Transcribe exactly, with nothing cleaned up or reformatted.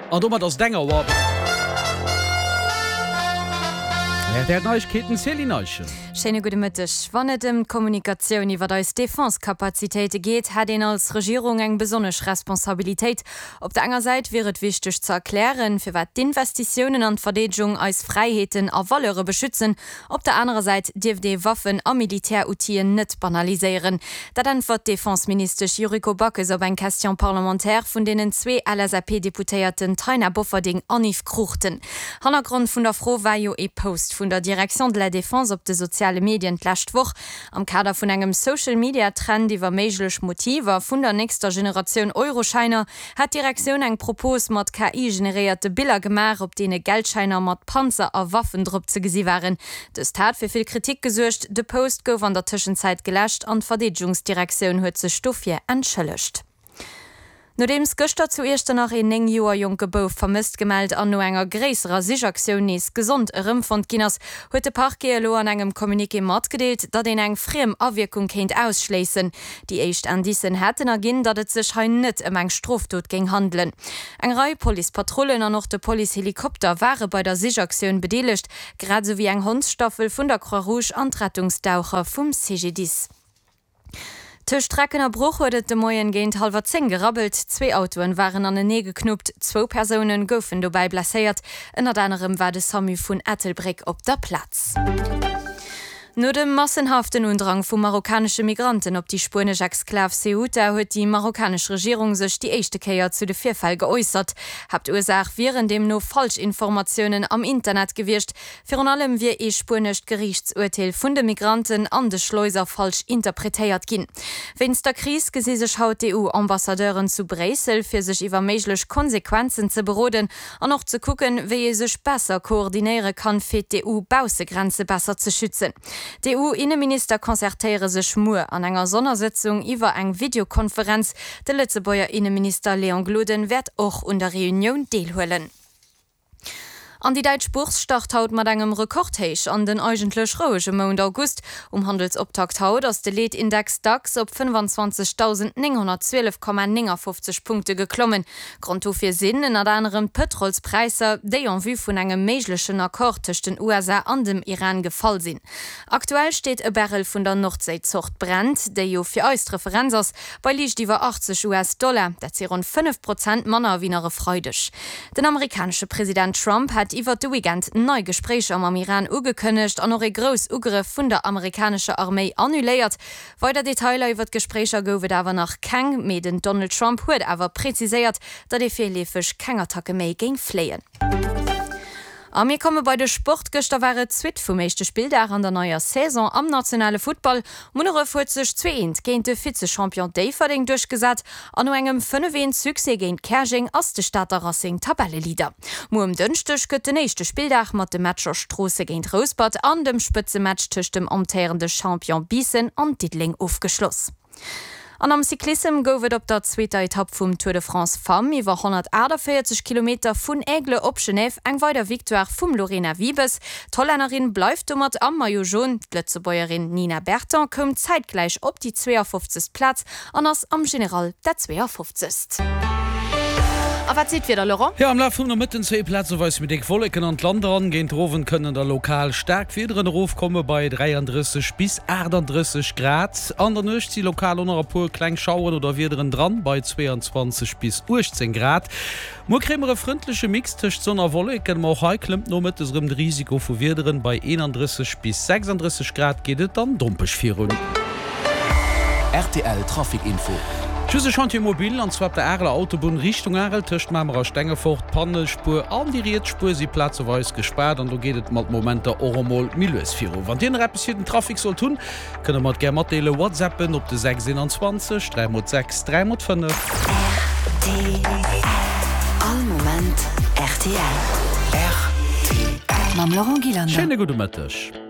An domat ass et eng Auer. R T L Neiegkeeten, Céline Eischen. Schéine gudde Mëtteg. Wann et ëm d'Kommunikatioun iwwer eis Defense-Kapazitéite geet, hätt een als Regierung eng besonnesch Responsabilitéit. Op der enger Säit wier et wichteg ze erklären, firwat d'Investitiounen an d'Verdeedegung eis Fräiheeten a Valeure beschützen. Op der anerer Säit dierft ee Waffen a Militäroutilen net banaliséieren. Dat äntwert d'Defense-Ministesch Yuriko Backes op eng Question parlementaire vun deenen zwee L S A P-Deputéierten Taina Bofferding an Yves Cruchten. Hannergrond vun der Fro war jo ee Post vun der Direction de la Défense op de soziale Medien d'lescht Woch. Am Kader vun engem Social-Media-Trend iwwer méiglech Motiver vun der nächster Generatioun Euroschäiner hat d'Direktioun eng Propos mat K I-generéierte Biller gemaach, op deene Geldschäiner mat Panzer a Waffen drop ze gesi waren. Dëst hat fir vill Kritik gesuergt. De Post gouf an der Tëschenzäit geläscht an d'Verdeedegungsdirektioun huet sech dofir entschëllegt. Nodeems gëschter zu Iechternach een néng Joer jonke Bouf vermësst gemellt an no enger gréisserer Sichaktioun nees gesond erëmfonnt ginn ass, huet de Parquet elo an engem Communiqué matgedeelt, datt een eng friem Awierkung kéint ausschléissen. Déi éischt Indicen hätten erginn, datt et sech hei net ëm eng Strofdot géing handelen. Eng Rei Policepatrullen an och de Policehelikopter ware bei der Sichaktioun bedeelegt, grad esou wéi eng Hondsstaffel vun der Croix-Rouge an d'Rettungsdaucher vum C G D I S. Tëscht Recken a Bruch huet et de Moien géint hallwer zéng gerabbelt. Zwee Autoen waren anenee geknuppt, zwou Persoune goufen dobäi blesséiert. Ënnert anerem war de SAMU vun Ettelbréck op der Plaz. No dem massenhaften Undrang vu marokkanesche Migranten op déi spuenesch Exklav Ceuta huet déi marokkanesch Regierung sech déi éischte Kéier zu de Virfäll geäussert. Haaptursaach wieren deemno Falschinformatiounen am Internet gewiescht. Virun allem wier ee spuenescht Geriichtsurteel vun de Migranten an de Schleuser falsch interpretéiert ginn. Wéinst der Kris gesi sech haut d'E U-Ambassadeuren zu Bréissel, fir sech iwwer méiglech Konsequenzen ze beroden an och ze kucken, wéi ee sech besser koordinéiere kann, fir d'E U-Baussegrenze besser ze schützen. D'E U-Inneminister concertéiere sech muer an enger Sonnersëtzung iwwer eng Videokonferenz. De Lëtzebuerger Inneminister Léon Gloden wäert och un der Reunioun deelhuelen. An déi däitsch Bourse start haut mat engem Rekordhéich an den eigentlech rouege Mount August. Um Handelsoptakt haut ass de Leetindex DAX op fënnefanzwanzegdausendnénghonnertzwielef Komma néngafofzeg Punkte geklommen. Grond dofir sinn ënnert anerem d'Pëtrolspräisser, déi en vue vun engem méiglechen Accord tëscht den U S A an dem Iran gefall sinn. Aktuell steet e Barrel vun der Nordséizort Brent, déi jo fir eis d'Referenz ass, bei liicht iwwer achtzeg U S-Dollar, dat si ronn fënnef Prozent manner wéi nach e Freideg. Den amerikanesche President Trump hat iwwer de Weekend nei Gespréicher mam Iran ugekënnegt an och e Groussugrëff vun der amerikanescher Arméi annuléiert. Weider Detailer iwwer d'Gespréicher gouf et awer nach keng, mee den Donald Trump huet awer preziséiert, datt ee virleefeg keng Attacke méi géing fléien. A mir komme bei de Sport. Gëschter war et d'Suite vum éischte Spilldag an der neier Saison am nationale Futtball. Munneref huet sech zwee eent géint de Vize-Champion Déifferdeng duerchgesat an no engem fënnef eent Succès géint Käerjeng ass de Stater Racing Tabelleleader. Muer um Dënschdeg gëtt den éischte Spilldag mat de Matcher Stroossen géint Rouspert an dem Spëtzematch tëscht dem amtéierende Champion Biissen an Diddeleng ofgeschloss. An am Cyclissem gouf et op der zweeter Etapp vum Tour de France Femmes iwwer honnertaachtavéierzeg Kilometer vun Aigle op Genève eng weider Victoire vum Lorena Wiebes. D'Hollännerin bleift domat am Maillot jaune. D'Lëtzebuergerin Nina Berton koum zäitgläich op déi zweeafofzegst Plaz an ass am General dat zweeafofzegst. A wat seet d'Wieder, Laurent? Jo, am Laf vum Nomëtten zéie plazeweis méi déck Wolleken an d'Land eran. Géint den Owend kënnen da lokal staark Wiederen erofkomme bei dräiandrësseg bis aachtanddrësseg Grad. An der Nuecht si lokal och nach e puer kleng Schaueren oder Wiederen dran bei zweeanzwanzeg bis uechtzéng Grad. Muer kréie mer e frëndleche Mix tëscht Sonn a Wolleken, ma och hei klëmmt nomëttes erëm de Risiko vu Wiederen. Bei eenandrësseg bis sechsanddrësseg Grad geet et dann dompeg virun. R T L Trafic Info. Just e Chantier mobile, an zwar op der Areler Autobunn Richtung Arel tëscht Mamer a Stengefort. D'Pannespuer an déi riets Spuer si plazeweis gespaart an do geet et mat Momenter och emol méi lues viru. Wann Dir nach eppes fir den Trafic sollt hunn, kënnt der mer et gär matdeelen. Whatsappen op de sechs eenanzwanzeg dräi mol sechs dräi mol fënnef. R T L All Moment R T L. R T L. Mam Laurent Gillander. Schéine gudde Mëtteg.